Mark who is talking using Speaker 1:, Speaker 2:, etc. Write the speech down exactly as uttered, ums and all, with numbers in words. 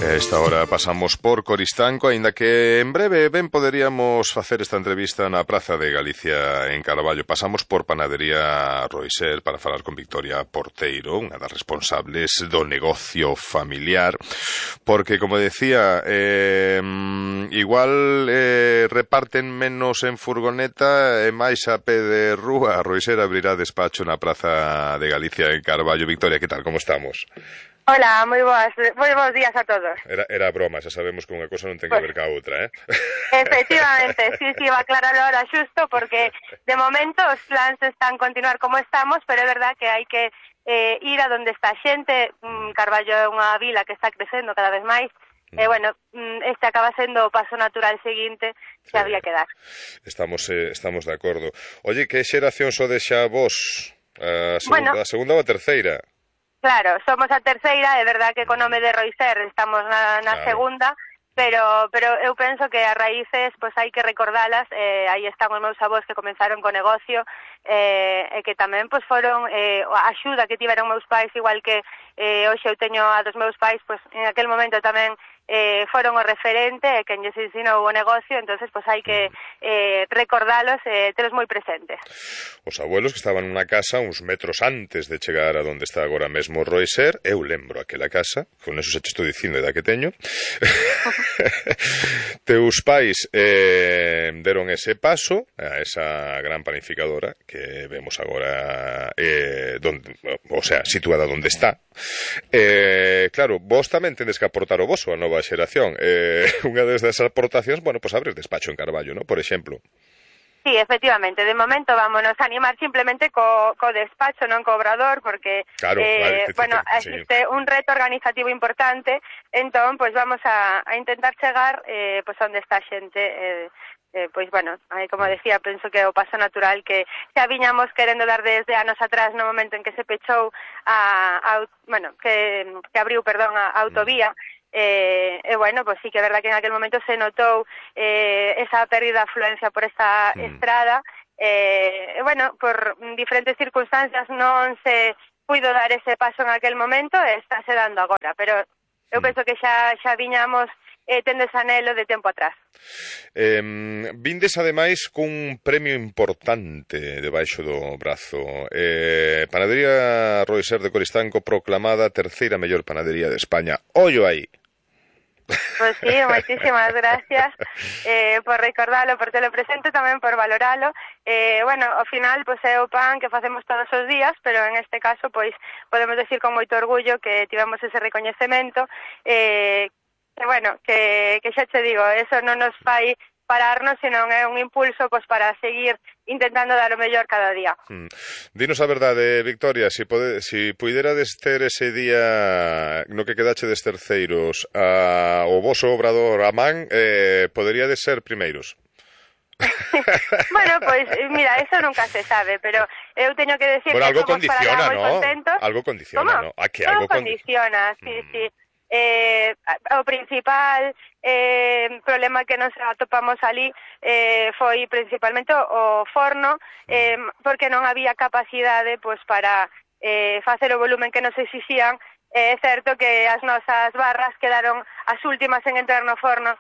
Speaker 1: A esta hora pasamos por Coristanco, aínda que en breve ben poderíamos facer esta entrevista na Praza de Galicia en Carballo. Pasamos por Panadería Roiser para falar con Victoria Porteiro, unha das responsables do negocio familiar, porque, como decía, eh, igual eh, reparten menos en furgoneta e máis a pé de rúa. Roiser abrirá despacho na Praza de Galicia en Carballo. Victoria, que tal, como estamos?
Speaker 2: Hola, moi boas, moi bons días a todos.
Speaker 1: Era, era broma, xa sabemos que unha cosa non ten que
Speaker 2: pues,
Speaker 1: ver ca outra, eh?
Speaker 2: Efectivamente, sí, sí, va a aclararlo ahora xusto, porque de momento os plans están continuar como estamos, pero é verdad que hai que eh, ir a donde está a xente. mm, Carballo é unha vila que está crecendo cada vez máis, e eh, bueno, este acaba sendo o paso natural seguinte que sí. Había que dar.
Speaker 1: Estamos, eh, estamos de acordo. Oye, que xeración sodes xa vos? A segunda,
Speaker 2: bueno,
Speaker 1: a segunda ou a terceira?
Speaker 2: Claro, somos a terceira, é verdad que co nome de Roiser estamos na, na claro. segunda, pero pero eu penso que as raíces pois hai que recordalas. Eh, aí están os meus avós que comenzaron co negocio, eh, e que tamén pois foron eh, a axuda que tiveron meus pais, igual que eh, hoxe eu teño a dos meus pais, pois en aquel momento tamén eh, foron o referente e quen lles ensinou o negocio. Entonces pois hai que eh, recordalos e eh, telos moi presentes.
Speaker 1: Os abuelos que estaban nunha casa uns metros antes de chegar a donde está agora mesmo Roiser, eu lembro aquela casa, con eso se te estou dicindo da que teño. Teus pais eh, deron ese paso a esa gran panificadora que vemos agora, eh, donde, o sea, situada donde está. Eh, claro, vos tamén tendes que aportar o voso a nova xeración. Eh, unha desas aportacións, bueno, pois pues abrir despacho en Carballo, ¿no? Por exemplo.
Speaker 2: Sí, efectivamente, de momento vámonos a animar simplemente co, co despacho, non co obrador, porque
Speaker 1: claro,
Speaker 2: eh,
Speaker 1: vale,
Speaker 2: bueno,
Speaker 1: sí.
Speaker 2: existe un reto organizativo importante. Entón, pois pues vamos a, a intentar chegar eh, pois pues onde está a xente. eh, eh, pois, bueno, como decía, penso que é o paso natural que xa viñamos querendo dar desde anos atrás, no momento en que se pechou a, a bueno, que, que abriu, perdón, a, a autovía. E, eh, eh, bueno, pues sí que é verdad que en aquel momento se notou eh, esa pérdida de afluencia por esta mm. estrada. E, eh, bueno, por diferentes circunstancias non se puido dar ese paso en aquel momento e estáse dando agora, pero eu mm. penso que xa, xa viñamos eh, tendes anelo de tempo atrás.
Speaker 1: Eh, vindes ademais cun premio importante debaixo do brazo. eh, Panadería Roiser de Coristanco proclamada terceira mellor panadería de España. Ollo aí.
Speaker 2: Pois sí, moitísimas gracias eh, por recordarlo, por telo presente, tamén por valoralo. Eh, bueno, ao final, pois é o pan que facemos todos os días, pero en este caso, pois, podemos decir con moito orgullo que tivemos ese recoñecemento, eh, que, bueno, que, que xa te digo, eso non nos fai pararnos, senón é un impulso pois para seguir intentando dar o mellor cada día.
Speaker 1: Hmm. Dinos a verdade, Victoria, si, pode, si puiderades ter ese día no que quedachedes terceiros a, o voso obrador a man, eh, poderíades ser primeiros.
Speaker 2: Bueno, pois, pues, mira, eso nunca se sabe, pero eu teño que decir
Speaker 1: bueno,
Speaker 2: que
Speaker 1: algo
Speaker 2: somos
Speaker 1: condiciona,
Speaker 2: para nada moi
Speaker 1: ¿no?
Speaker 2: contentos.
Speaker 1: Algo condiciona,
Speaker 2: ¿Cómo?
Speaker 1: ¿no? A que
Speaker 2: Todo
Speaker 1: algo
Speaker 2: condiciona,
Speaker 1: condi...
Speaker 2: sí,
Speaker 1: mm.
Speaker 2: sí. Eh, o principal eh, problema que nos atopamos ali eh, foi principalmente o forno, eh, porque non había capacidade pois para eh, facer o volumen que nos exixían. É certo que as nosas barras quedaron as últimas en entrar no forno